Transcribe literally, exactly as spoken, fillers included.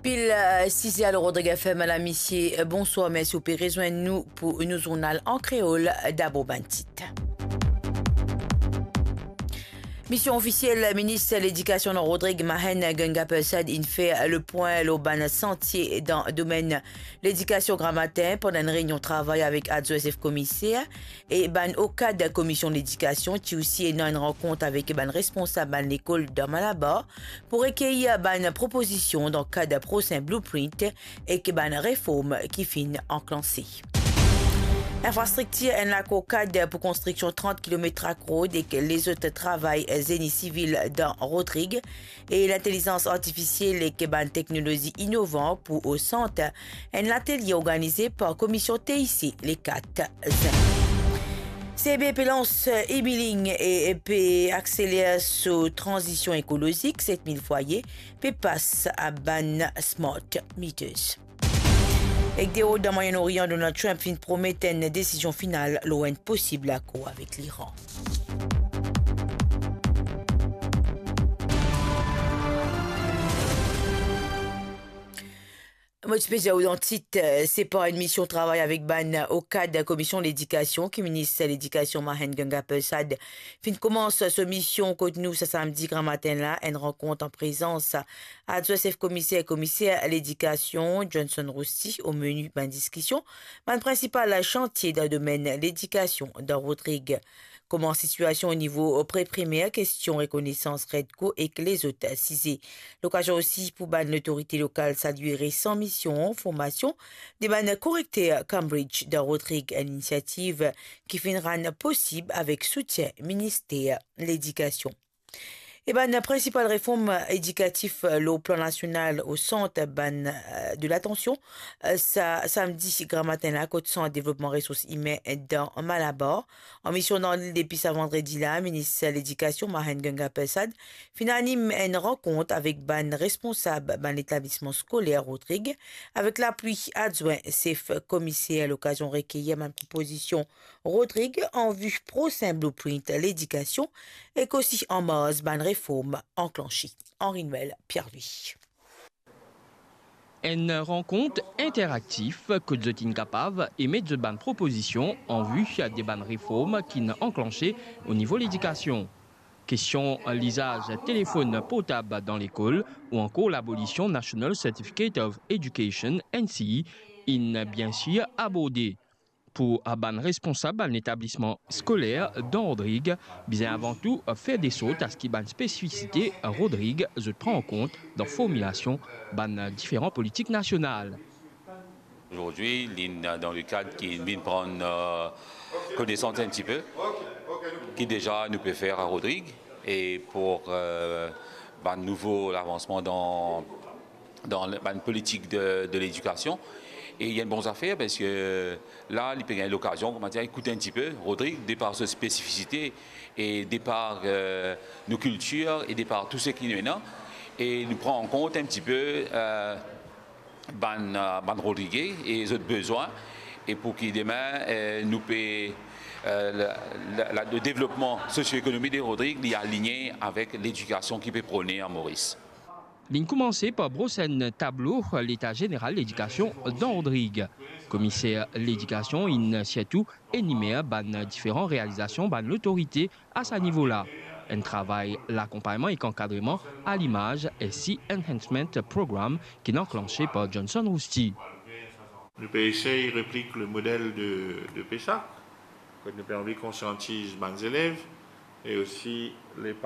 Pil, eh, size, alor Rodrig F M, lamisie, eh, bonswar, mersi ou pe rezwenn nou pou nou zournal an kreol. Dabor bann tit. Mision ofisiel minis ledikasion Rodrig Mahen Ganga Persad inn fer lepwin lor bann santie dan domenn ledikasion Gramatin pandan enn reynion travay avek adwin sef komiser e bann okad komision ledikasion. Ti osi ena enn rankont avek bann responsab bann lekol dan Malabar pou rekeir bann propozision dan kad prosin blueprint ek bann reform ki finn anklanse. Infrastriktir, enn lakor kad pou konstriksion trant kilomet track road ek lezot travay zeni sivil dan Rodrig e lintelizans artifisiel ek bann teknolozi inovan pou Osant, enn latelie organize par Komision T I C le kat zin. C B pe lans e-billing e, e pe akseler so tranzision ekolozik, set mil fwaye pe pas a bann smart meters. Ek deor dan Mwayen Orian, Donald Trump finn promet enn desizion final lor enn posib lakor avek Liran. Mo ti pe dir ou dan tit, eh, se par enn mision travay avek bann okad Komision Ledikasion ki minis Ledikasion Mahen Ganga Persad finn koumans so mision kot nou sa samdi gramatin la, enn rankont an prezans adwin sef komiser, komiser ledikasion Johnson Rousty. O meni bann diskision, bann prinsipal santie dan domenn ledikasion dan Rodrig. Kouma sitiasion o nivo pre-primer, kestion rekonesans Redco ek lezot size. Lokazion osi pou bann lotorite lokal salye resan mision formasion de bann korekter Cambridge dan Rodrig, enn inisiativ ki finn rann posib avek soutien Minister Ledikasion. E bann prinsipal reform edikatif lor plan nasional osant bann, eh, de latansion, eh, sa samdi gramatin la kot Sant Devlopman Resours Imin dan Malabar. An mision dan lil depi sa vandredi la, minis ledikasion Mahen Ganga Persad finn anim enn rankont avek bann responsab bann letablisman skoler Rodrig, avek lapui adwin sef komiser, lokazion rekeir bann propozision Rodrig an vi prosin blueprint ledikasion ek osi an marz bann reform anklanse. Henri Noël Pierre-Louis. Enn rankont interaktif kot zot inn kapav emet zot bann propozision an vi de bann reform ki'nn anklanse o nivo ledikasion. Kestion lizaz telefonn portab dan lekol ou ankor labolision National Certificate of Education, N C E, inn biensir aborde. Pou bann responsab bann letablisman skoler dan Rodrig, bizin avan tou fer de sort a se ki bann spesifisite Rodrig zot pran an kont dan formilasion bann diferan politik nasional. Aujourd'hui, li dan le kad ki vinn pran, euh, konesans enn tipe, ki deza nou pe fer a Rodrig, e pou, euh, bann nouvo lavansman dan dan le, bann politik de, de ledikasion. E li enn bon zafer, parski la, li pe gagn lokazion, kouma dir, ekout enn tipe Rodrig, de par so spesifisite e de par, euh, nou kiltir e de par tou seki nou ena. E nou pran an kont enn tipe, euh, bann, euh, bann Rodrige e zot bezwin, e pou ki demin, euh, nou pe, euh, la, la, la, le devlopman sosio-ekonomik de Rodrig, li aligne avek ledikasion ki pe prone a Moris. Linn koumanse par bros enn tablo leta zeneral ledikasion dan Rodrig. Komiser ledikasion inn sirtou enimer bann diferan realizasion bann lotorite a sa nivo la. Enn travay lakonpagnman ek ankadreman a limaz S C Enhancement Program ki inn anklanse par Johnson Rousty. Nou pe esey replik le model de, de PESAC, kot nou pe anvi konsiantiz bann zelev e osi le